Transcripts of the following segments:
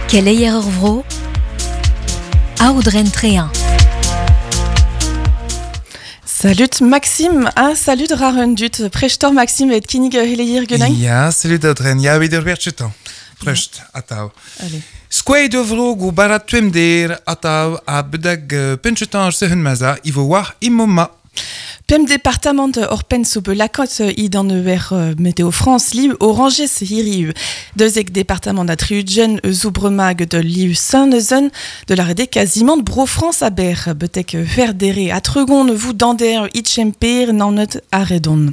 Keleier ur vro, Aodren Trehin. Salut Maxime, ah salut rarun dut, prestor Maxime et kinnig heleier genañ? Ya, salut Aodren, ya evit ur werchetan. Prest, atav. Allez. Skouaet ur vro go barat tuemder atav a bedag penchetan ar sehun maza, ivo war imoma. Pemp departamant orpen zo bet lakaet idan ur Météo France liv oranges hiriv. Deuzek departamant a triugen eus bremag de liv Saint-Neuzen de la rede quasiment Bro France a ber betek verdere a tregon vous dander itchemper nanet a redon.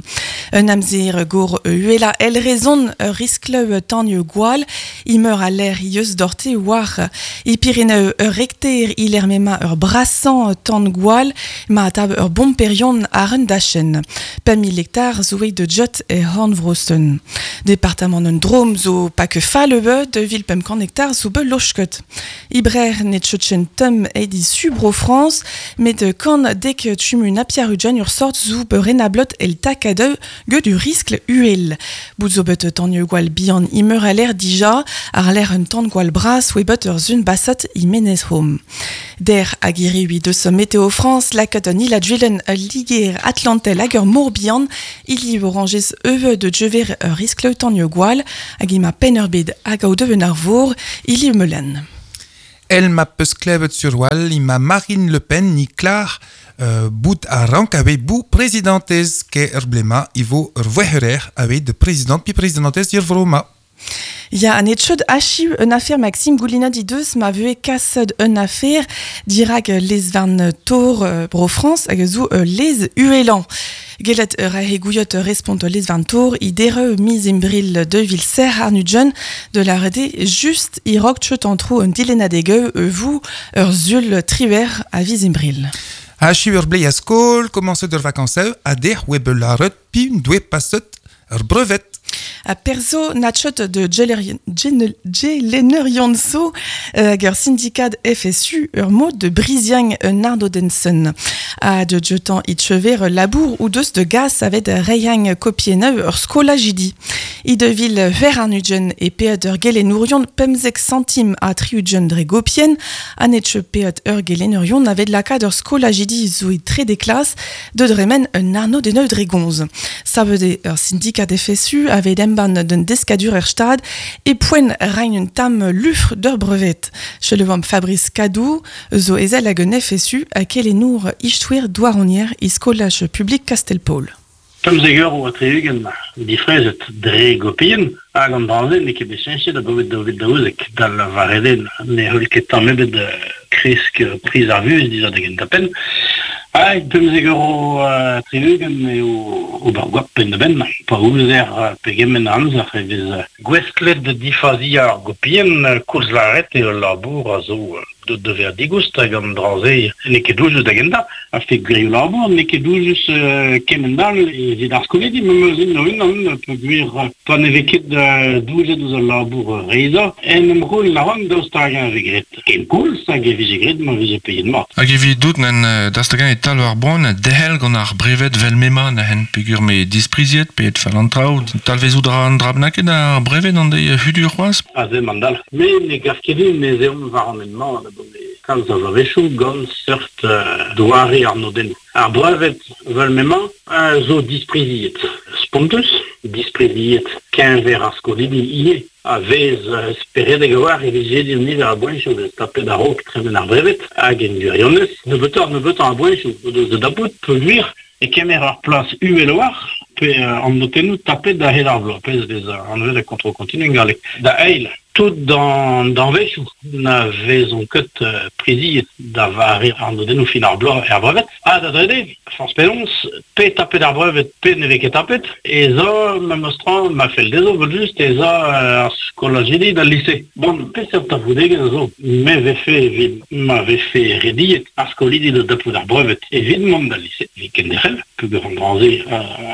Un amzer gor uela el rezon riskle tanio gwal imeur a l'air ieus dorte war i Pireneu ur rekter iler mema ur brassan tan gwal ma tab ur bon perion ar un dachen. 5 000 hectare zo de jot e Hornvrosten. Departement un drom zo pa ke fall de vil 500 hectare zo be lochket. Ibrer net chotchen tum edi subro France, met kan dek tumun apiarujan ur sort zo be renablot el takadeu ge du riskle uel. Bout zo bet tanio gwal bihan imeur a l'air dija, ar l'air un tan gwal bras we bet ur zun basat i menez hom. Der agiri ui deus Météo France lakat an ila djuelen liger Atlantel hag ur mor bihan, ili oranges euve de djever ur riskle tanio gwal, hag ima pen ur bed hag au deven ar vor, ili meulen. El ma peus klevet sur wal, ima Marine Le Pen ni klar bout a rank ave bou presidentez ke ur blema ivo ur voeherer ave de president pi presidentez ir vroma. Ya, an etchod achiu un affaire Maxime Goulina di deus ma vue kased un affaire dirag les van tor bro France hag zo les uelan. Gelet ur ahe gouiot respont les van tor i dere mis imbril de vil ser arnudjen de la rede just i rok tchot antro un dilenadegeu vous ur zul triwer a vis imbril. Achiu ur blei a skol, commencet ur vacances a der web laret pi doe passet ur brevet. A perso natchot de Jelenerion so hag ur syndikat FSU ur mod de Briziang un ardodensen. A de jetan itchever labour ou deus de gas avet reyang kopieneu ur skolajidi. I de vil ver arnugen e peet ur gelenourion pemzek centim a triugen dre gopien, an etche peet ur gelenurion avet lakad ur skolajidi zo e tre de klas de dremen un arno de neu dre gonz. Savede ur syndikat FSU avet emban d'un deskadur er stad e poen rein un tam lufr d'ur brevet. Chelevam Fabrice Cadou zo ezel hag un FSU a kelenour ichtouer douaronier i skolaj publik Castelpol. Pemzek eur oa triugen difrezet dre gopien, hag an dranze ne ket bet cheñchet abaoe daou vil daouzek dal vareden ne heul ket tamm ebet kresk priz ar vuhez dija da gentañ-penn. Hag 15 euro 60 eo ober goap penn-da-benn, pa ouzer pegement a amzer e vez gouestlet da difaziañ ar gopien, koulz lâret eo ul labour a zo deut da vezañ digoust hag an dra-se n'eo ket doujus da gentañ, a fe gwirioù labour, n'eo ket doujus kement all evit ar skolidi, memes int o-unan, peogwir pa ne vez ket doujet ouzh al labour reizhañ, en em c'houlenn a ran daoust hag-eñ e vez graet ken koulz hag e vije graet ma vije paeet mat. Hag evit dout n'en daoust hag-eñ e talv ar boan derc'hel gant ar brevet vel m'emañ neuzen peogwir m'eo dispriziet pe fall an traoù, talvezout a ra an dra bennaket ar brevet an deiz hudur c'hoazh? Aze emañ an dalc'h. Me ne gav ket din ez eomp war an hent-mañ abaoe kalz a bloavezhioù gant seurt doare arnodennoù. Ar brevet vel m'emañ a zo dispriziet. Spontus, dispriziet keñver ar skolidi ivez. A vez speredek a-walc'h e vije din niver a boenchoù vez tapet a-raok tremen ar brevet hag en gwirionez nebeutoc'h-nebeutañ a boenchoù o deus da dapout peogwir e kemer ur plas uhel a-walc'h pe an notennoù tapet a-hed ar bloaz, pezh vez anvet ar contrôle continu en galleg. Da eil, tout an danvezioù na vezont ket priziet da vare arnodennoù fin ar bloaz er brevet. Ha da drede, forzh penaos, pe tapet ar brevet pe ne vez ket tapet, ez a memes tra ma fell dezho evel-just ez a ar skolajidi d'al lise. Bon, peseurt talvoudegezh a zo? Me vefe evit ma vefe rediet ar skolidi da dapout ar brevet evit mont d'al lise, evit kenderc'hel, peogwir an dra-se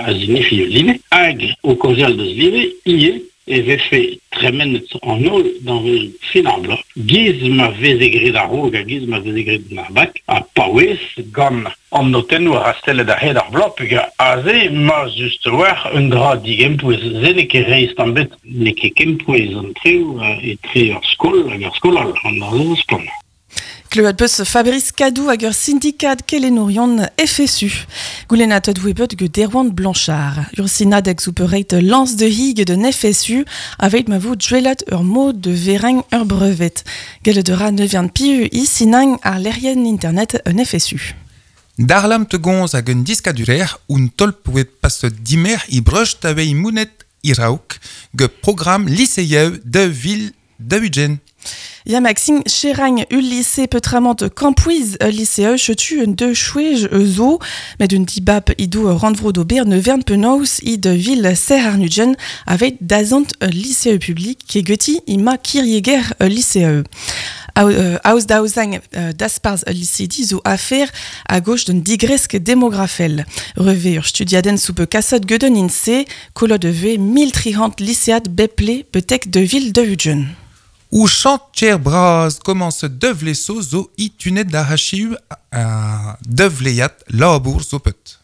a zinifi ul live, hag o kaozeal deus live ivez. e vefe tremenet an holl danvez fin ar bloaz, giz ma veze graet a-raok ha giz ma veze graet gant ar bak, ha paouez gant an notennoù rastellet a-hed ar bloaz, peogwir aze ma just a-walc'h un dra digempouez. Se n'eo ket reizh tamm ebet, n'eo ket kempouez an traoù etre ur skol hag ur skol all, an dra-se zo splann. Kleuet peus Fabrice Cadou hag ur sindikad kelennourion FSU. Goulennatet voe bet get Erwan Blanchard. Ur sinadeg zo peurreit lañs de hig d'un FSU aveit ma vo duellat ur mod de vereñ ur brevet. Gellet a ra neuvian piv i sinañ ar lec'hienn internet un FSU. Darlam te gonz hag un diskadurer un tolp oe paset dimer i breucht aveit mounet iraok ge programm lycéieu de vil de Ugen. Ya Maxime Cheragn ul lycée peutramant Campouiz ul lycée chetu un deux chouej zo met un dibab idou randvro d'ober ne vern penaos i de ville ser arnugen avec dazant ul lycée public ke geti ima kirieger ul lycée. Aoz daouzang dasparz ul lycée di zo afer a gauche d'un digresk demografel. Reve ur studiaden soupe kassot geden inse, kolo de ve 1300 lycéad beple betek de ville de Ugen. Ou chantier braz commence devleso zo i tunet da hachiu a devleiat labour zo pet.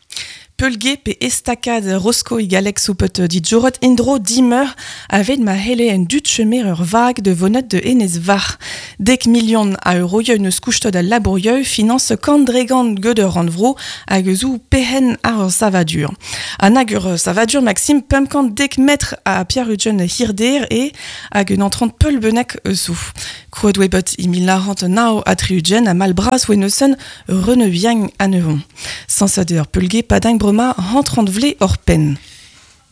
Peulge pe estakad Rosco i galek soupet dit jorot indro dimeur avec ma hele en dut chemer ur vag de vonet de enez var. Dek million a euroieu neus kouchtot a labourieu finance kandregan gede randvro hag zou pehen ar ur savadur. An hag ur savadur Maxime pemkant dek metr a Pierre Ugen hirder e hag un entrant peul benek zou. Krouet oe bet i mil narant nao a triugen a malbras oe neusen reneviang a nevon. Sansader peulge padang brema rentrant vle or pen.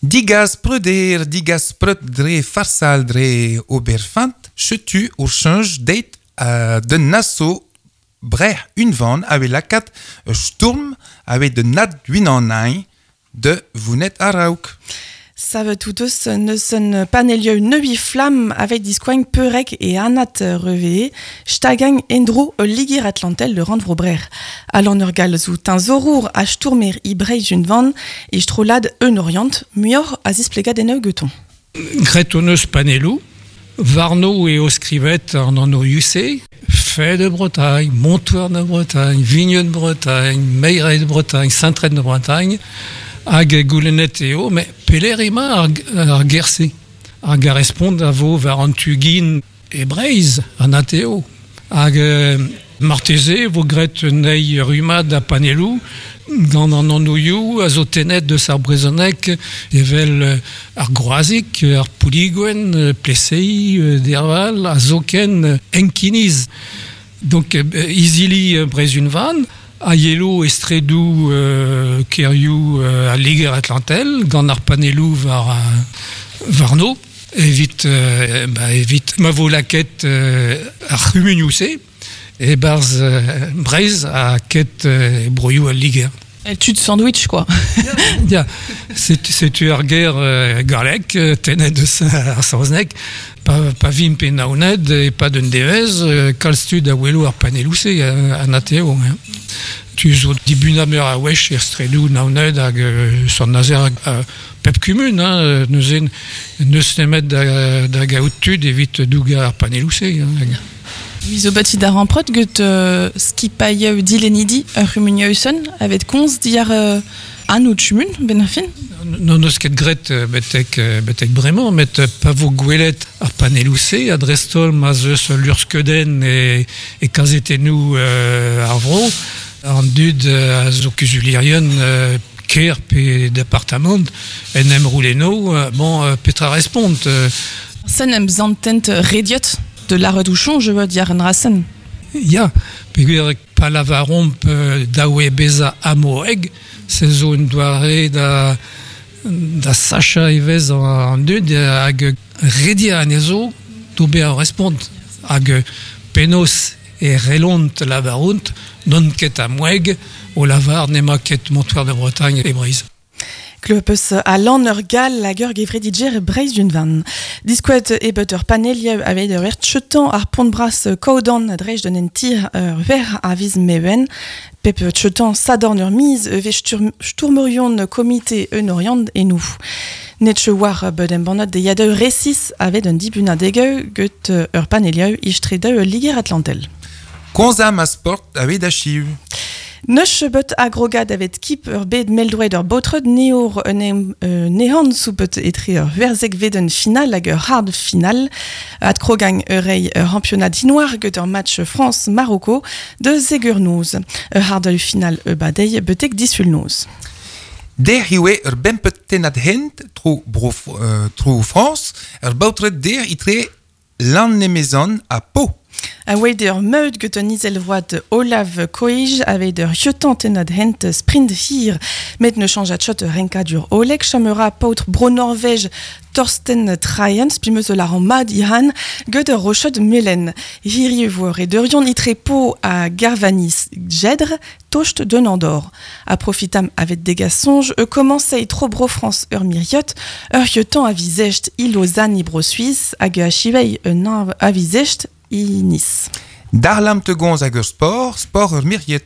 Digas preuder, digas preut dre farsal dre oberfant, chetu ur change deit de nasso breh unvan ave lakat sturm ave de nat duinan de vounet arauk. Save tout eus neusen panelieu neui flam avec diskoagn peurek e anat revee, stagang endro ul ligir atlantel de randvrobrer. Alan ur gal zo tinzorour a stourmer i breiz unvan e strolad eun orient, muioc'h a zisplegad en geton. Gret hon eus panelou, Varno e oskrivet an an UC, Fait de Bretagne, Montoir de Bretagne, Vigneux de Bretagne, Meirey de Bretagne, Saint-Trène de Bretagne, hag goulennet eo, met peler ema ar gerse. Hag a respont a vo war an tugin e Breiz, an ateo. Hag marteze vo gret nei rumad a panelou, gant an anouioù a zo tenet deus ar brezonek evel ar groazik, ar pouliguen, plesei, derval, a zoken enkiniz. Donc izili brezunvan, a yelo estredou kerioù a Liger Atlantel, gant ar panelou war varno, evit, ba, evit ma vo laket ar c'humunioù-se, e barz Breiz a ket broioù al Liger. El tud sandwich, quoi. Ya, setu ar ger galek, tenet deus ar saozneg, pa vimp e naoned e pa d'un devez, kalz tud a welo ar paneloù-se an ateo. Hein. Tu zo dibuna meur a wech er stredou naoned hag son nazer pep kumun, hein, neuzen neus nemet da gaout tud evit douga ar paneloù-se. Hein. Zo bati d'ar amprot get skipailh dilenidi ur c'humunieusen avet konz diar an out chumun, ben ar fin? Non eus ket gret betek bremañ, met pa vo gwelet ar paneloù-se, a drestol ma zeus lurskeuden e kazetennoù ar vro, an dud a zo kuzulierien ker pe departamant en em rouleno, bon, petra respont. Sen em zantent rediot de la redouchon, je veux dire, en rasen. Ya, peogwir pa lavaromp daoue beza amoeg, se zo un doare da sacha evez an dud hag redia anezho d'ober ar respont. Hag penos e relont lavarount non ket amoeg o lavar nema ket Montoir de Bretagne e Breiz. Klepeus a lan ur gal hag ur gevredidjer Breizh d'un Diskouet e bet ur panelieu aveit ur ert chetan ar pont bras kaodan a drej d'un tir ur ver a viz mewen. Pep chetan sadorn ur miz e vez stourmerion komite un oriant e nou. Netche war bet embanot de yadeu resis avet un dibunadegeu get ur panelieu istre Liger Atlantel. Konzam a sport aveit achiv. Neus bet agrogad avet kip ur bed meldroed ur botred neor nehan soupet etre ur verzek veden final hag ur hard final. At krogang ur rei ur championnat dinoir get ur match France-Marocco de zegur noz. Ur hard final e badei betek disul noz. Der hiwe ur bempet tenat hent tro, bro, tro France, ur baotred der itre lan nemezan a po. A oa ur meud get un izelvoad Olav Koij aveit ur jetant tenad hent sprint hir met ne chanjat chot renkadur Oleg chamera paotr bro Norvège Torsten Traen spimeus la mad ihan get ur rochot melen. Hiri vor e deurion itre po a Garvanis Jedr tocht de Nandor. A profitam avet degas sonj e commencei tro bro France ur miriot ur jetant a vizest i Lausanne i bro Suisse hag a chivei un a vizest i Nice. Darlam te gonz hag ur sport, sport ur miriet.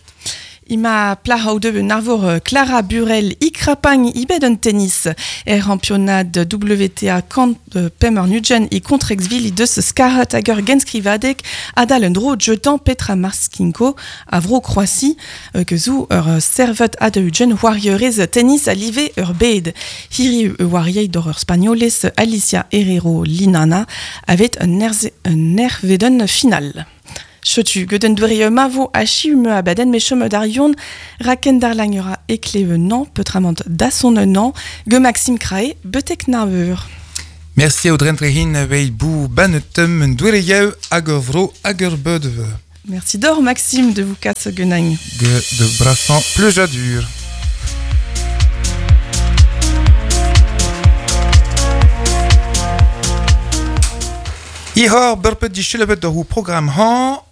Ima plahau de un arvor Clara Burel i krapagn i bet un tennis. Er championnat WTA kant pem ur nudgen i kontrexville i deus skarhat hag ur genskrivadek adal un dro jetan Petra Marskinko a vro Croatie que zou ur servet ad ugen warriorez tennis a live ur bed. Hiri warriei dor ur spagnoles Alicia Herrero Linana avet un nerveden final. Chetu, geden dwere mavo a chiume a baden me chome d'arion, raken darlagnera ekleve nan, peutramant dason nan, ge Maxime Krae, betek naveur. Merci Audrey Trehin, vei bou banetem un dwere yeu hag ur vro hag ur beudeve. Merci d'or Maxime de vous kasse genagn. Ge de brassan pleujadur. Ihor burpet di chilebet ur program han,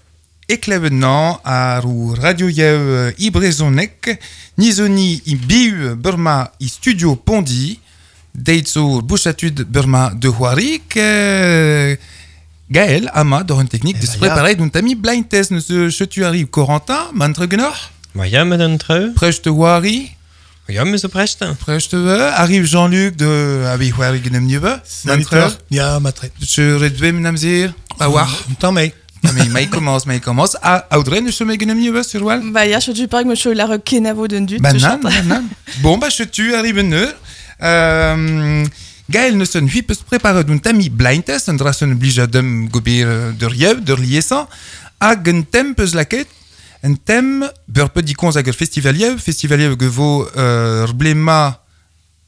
eklevet nan ar ou radio yew i brezonek, nizoni i biu burma i studio Pondi, deitzo bouchatud burma de Huarik, Gaël, ama, dor un technique, de se préparer d'un tami blind test, ne se chetu arrive Corentin, mantre genor? Ja, met un treu. Preste Huari? Ja, me zo preste. Preste, arrive Jean-Luc de abi Huari genem nieve. Mantre? Ja, matre. Je redwe menamzir, a war. Tamé. Mais il commence, mais il commence. Ah, Audrey, ne se genem nieve sur wal? Bah ya, je tu parle que me la rekenavo d'un dut. Bah nan, nan. Bon, bah je tu arrive ne. Gaël ne se ne peut se préparer d'un tami blind test, un drasen oblige dem gobir de riev, de liesan, hag un tem peus laket, un tem burpe di konz hag ur festivaliev, festivaliev ge vo rblema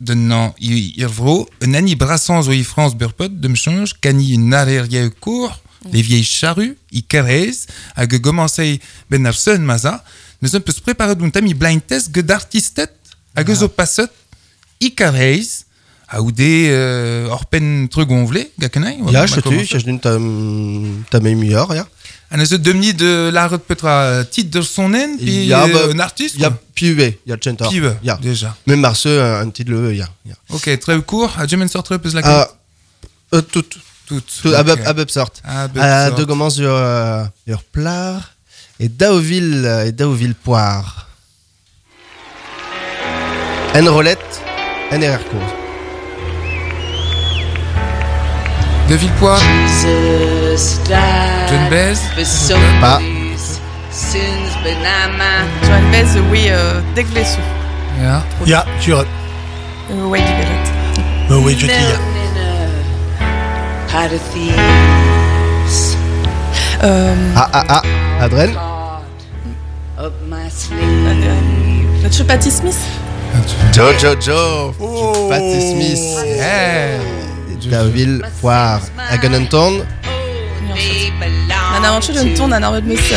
de nan i vro, un ani brassan zo i France burpet, dem change, kani un areriev kour, les vieilles charrues, i kerez, hag gomansei ben ar seun maza, ne se peut se préparer d'un tami blind test ge d'artistet, hag zo passet, i kerez, a oude orpen trugonvle, gakenai? Ya, je tu, je d'un tam meilleur, ya. An eus demni de la petra titre de son en, puis un artiste? Ya, puis ya chenta. Puis ya, déjà. Même marse un titre le ya. Ok, très court, a jamen sort très peus la tout. Tout. A bep sort. A deux commence sur plar et Daoville poire. En rolette, en RR course. De Villepoix. John Bez. Pas. John Bez, oui, degvlesou. Ya. Ya, tu Oui, du belet. Oui, je dis ya. Ah, Adrien. Notre Patti Smith. Joe. Oh. Patti Smith. Yeah. Daville, poire. Hag an ton. An avanchu d'un ton an arvet meus